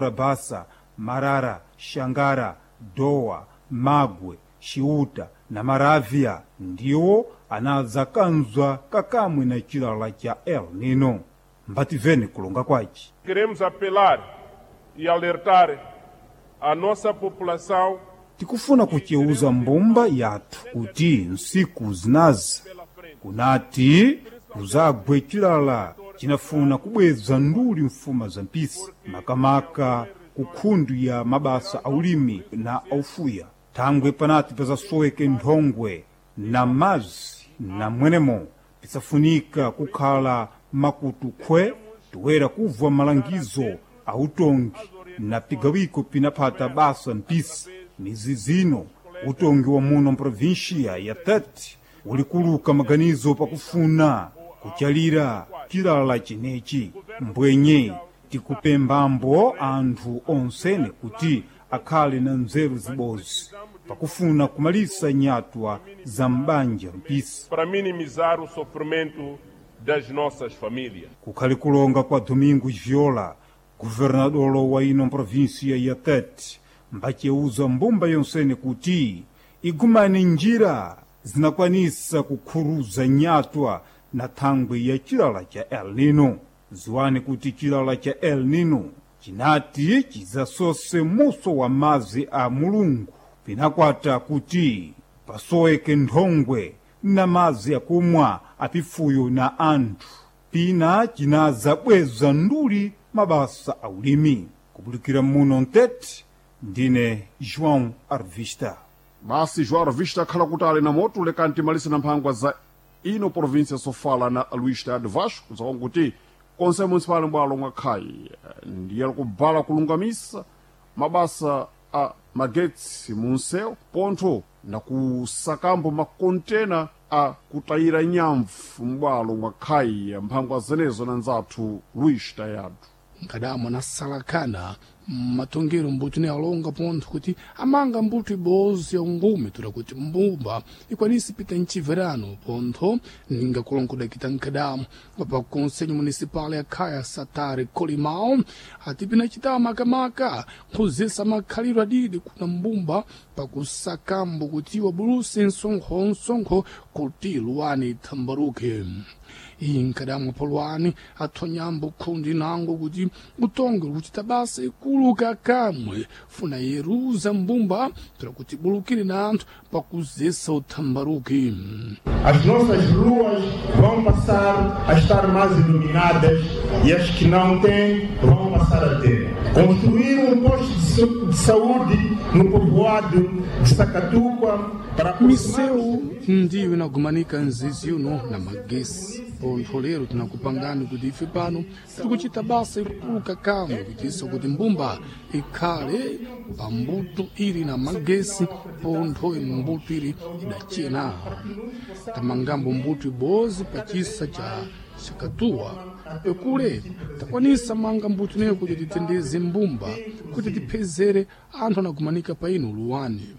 Rabasa, Marara, Shangara, Dowa, Magwe, Chiuta na Maravya ndiwo anadzakanzwa kakamwe na chilala cha El Nino. Mbativene kulonga kwaci. Queremos apelar e alertar a nossa população Tikufuna kuceuza mbumba yathu kuti nsiku zinazi kunati kuzagwe chilala cinafuna kubweza nduli mfuma za mpisi, makamaka ku khundu ya mabasa aulimi na aufuya. Thangwe panati pazasoweke nthongwe na mazi na mwenemo pisafunika kukhala makutu khwe toera kubva malangizo a utongi na pigawiko pinaphata basa mpisi. Mizi zino utongi wa muno mprovinsia ya Tete ulikuluka maganizo pakufuna kuchalira chilala chineci. Mbwenye tikupembambo anthu onsene kuti akhale na nzeru zibozi pakufuna kumalisa nyatwa za m'banja mpisi. para minimizar o sofrimento das nossas famílias. Kukhali kulonga kwa Domingos Viola, governador wa ino província ya Tete, mbaceuza mbumba yonsene kuti igumane njira zinakwanisa kukhuruza nyatwa na thangwe ya chilala cha El Nino. Ziwani kuti chilala cha El Nino chinati chidzasose muso wa mazi a Mulungu, pinakwata kuti pasoweke nthongwe na mazi akumwa apifuyo na anthu. Pina cinadzabweza nduli mabasa aulimi. Kubulikira muno mtete, ndine João Arvista. Basi João Arvista akhala kuti ali na moto lekani timalise na mphangwa za ino província sofala na Luís Tade Vasco zakonkuti konse municipal mbwalo mwa khayi ndiye kubala kulungamisa mabasa a magetsi munsewu pontho na kusakambo makontena a kutayira nyamvu m'bwalo mwa khayi mphangwa zenezo na nzathu Luís Tayado. Nkadamo nasalakana mmatongero mbuti ne alonga pontho kuti amanga mbuto ibozi ya ungume toda kuti mbumba ikwanise pita mchiverano pontho ninga kulongodakita nkadamo pa conselho municipal ya khaya Satare Colimao ati pinacita makamaka nkhuzisa makhalidwe adidi kuna mbumba pakusakambo kuti wabuluse msonkho kuti luwani ithambaruke. Iyi nkadamwa polwani athonyambo khundi nango kuti utonge kuchita basa ikulu kakamwe funa yeruza mbumba toda kuti bulukire na anthu pakuzesa uthambaruki. As nossas ruas vão passar a estar mais iluminadas e as que não têm vão passar a ter. Construir um posto de saúde no povoado de Sacatuca para Miseu ndiyo inagumanika nzizi uno na magesi pontho lero tinakupangani kuti ife pano tikuchita basa ikulu kakamwe kuitisa kuti mbumba ikhale pambuto ili na magesi pontho mbuto ili idachena. Tamangambo mbuto ibozi pachisa cha Chakatuwa ekule takwanisa manga mbuto ineyo kuti titendeze mbumba kuti tiphezere anthu anagumanika pa ino luwani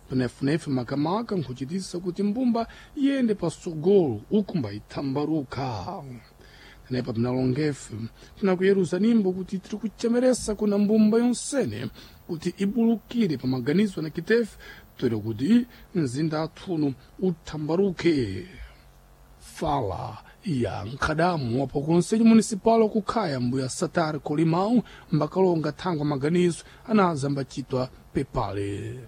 penefunefu makamaka nkuchitisa kuti mbumba iyende pasogolo ukumba ithambaruka. Tenepa pinalongefe tinakuyeruza nimbo kuti tiri kuchemeresa kuna mbumba yonsene kuti ibulukire pa maganizo na kitefe toera kuti mzinda athuno uthambaruke. Fala ya nkhadamu wapo conselho municipal wakukhaya mbuya Satar Colimão mbakalonga thangwa maganizo anaza mbachitwa pepale.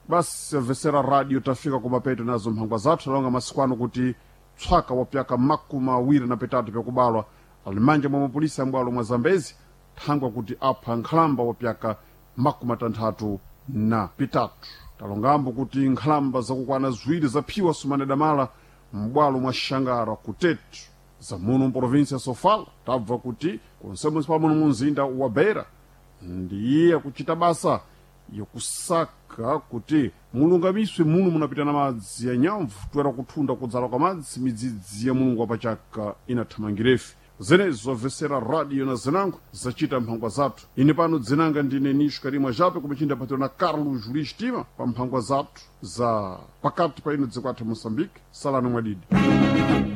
Basi amvesera radio tafika kumapeto nazo mphangwa zathu alonga masiku ano kuti tswaka wa pyaka 23 pyakubalwa ali manja mwa mapolisi ambwalo mwa Zambezi thangwa kuti apha nkhalamba wa pyaka 63. Talongambo kuti nkhalamba zakukwana ziwiri zaphiwa sumane damala m'bwalo mwa Xangara kutetu zamuno mprovinsia ya Sofala. Tabva kuti konse municipal muno mu mzinda wa Beira ndiye akuchita basa yokusaka kuti mulungamiswe muno munapita na madzi ya nyamvu toera kuthunda kudzala kwa madzi midzidzi ya Mulungu wapachaka inathamangirefe. Zenezo zamvesera radio na zinango zacita mphangwa zathu. Ine pano dzinanga ndine Nisho Karimwa Jape kumachinda patiro na Carlos Luís Tima pa mphangwa zathu za pakati pa ino dziko athu Moçambique. Salano mwadidi.